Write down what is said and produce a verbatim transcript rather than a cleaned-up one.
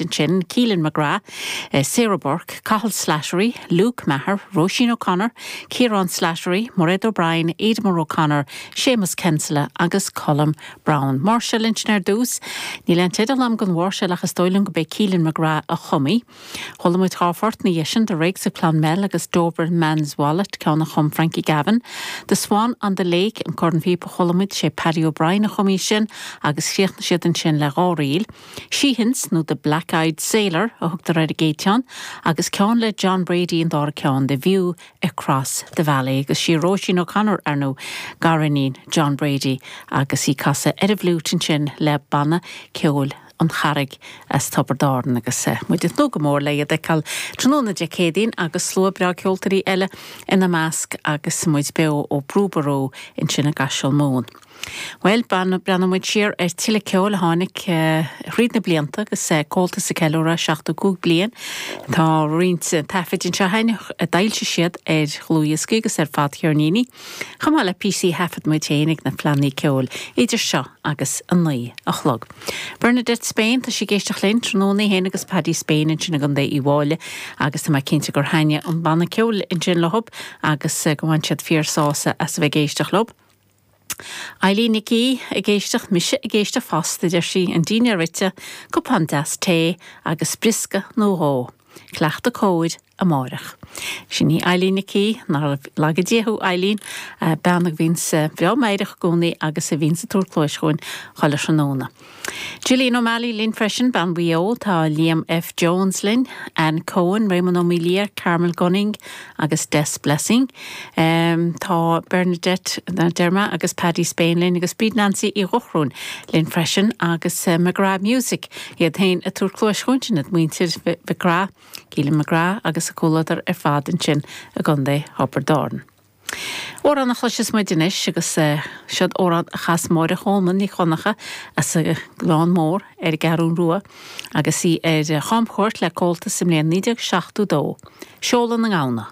Ansin, Keelan McGrath, eh, Sarah Burke, Cathal Slattery, Luke Maher, Roisin O'Connor, Kieran Slattery, Mairead O'Brien, Edmund O'Connor, Seamus Kinsella agus Colm Brown. Máirseáil ansin ar dtús, níl an teideal agam don mháirseáil ach is dóigh liom gurb é Keelan McGrath a chum í. Chuala muid dhá phort ina dhiaidh sin The Rakes of Clonmel agus Doberman's Wallet ceann a chum Frankie Gavin. The Swan on the Lake an cornphíopa a chuala muid sé Paddy O'Brien a chum í sin agus chríochnaigh siad ansin le dhá ríl. Sheehan's nó the Black-Eyed Sailor a thugtar ar an gcéad cheann, agus ceann le John Brady an dara ceann The View Across the Valley agus sí Roisin O'Connor ar ndóigh gariníon John Brady agus í ag casadh ar an bhfliúit ansin le banna ceoil an Charraig as Tiobraid Árann agus eh, muid ag tnúth go mór le iad a fheiceáil tráthnóna Dé Céadaoin agus slua breá ceoltóirí eile ina measc agus muid beo ó Brú Ború ansin i gCaiseal Mumhan. Well breathnóidh muid siar ar tuilleadh ceoil a tháinig thríd na blianta agus Comhaltas ag ceiliúradh seachtó cúig bliain Tá roinnt taifid anseo a d'fhoilsigh siad ar dhlúthdhioscaí agus ar fadcheirníní. Chomh maith le píosaí a thaifead muid féin ag na fleánna ceoil idir seo agus a naoi a chlog. Bernadette Spain tá sí ag éisteacht linn tráthnóna féin agus Paddy Spain ansin i gContae Uíbh Fhailí agus tá mé cinnte gur thaitnigh an banna ceoil ansin leo agus go bhain siad fíorshásamh as a bheith ag éisteacht leo. Eileen Nic ag éisteacht mise ag éisteacht fosta deir sí an dinnéar ite, cupán deas tae agus briosca nó dhó. Cleachtadh cóir amárach. Sin í Eileen Nic nár laga Dia thú Eileen bean a bhíonn breá meidhreach i gcónaí agus a bhíonn ag tabhairt cluais chugainn chuile thráthnóna. Gillian O'Malley linn freisin bean Mhaigh Eo tá Liam F. Jones linn, Anne Cohen, Raymond O'Melia, Carmel Gunning agus Des Blessing. Um, tá Bernadette Derma agus Paddy Spain linn agus Bríd Nancy Uí Dhochróin linn freisin agus uh, McGrath Music iad féin ag tabhairt cluais chugainn muintir McGrath, Keelan McGrath agus a comhluadar ar fad ansin i gContae Thiobraid Árann. Amhrán a chloisfidh muid anois agus uh, siod amhrán a chas Máire Cholmáin Ní Chonchúir as a Gleann Mór ar an gCeathrú Rua agus í ar chamchuairt le Comhaltas i mbliain naoi déag seachtó dó. Seoladh na nGamhna.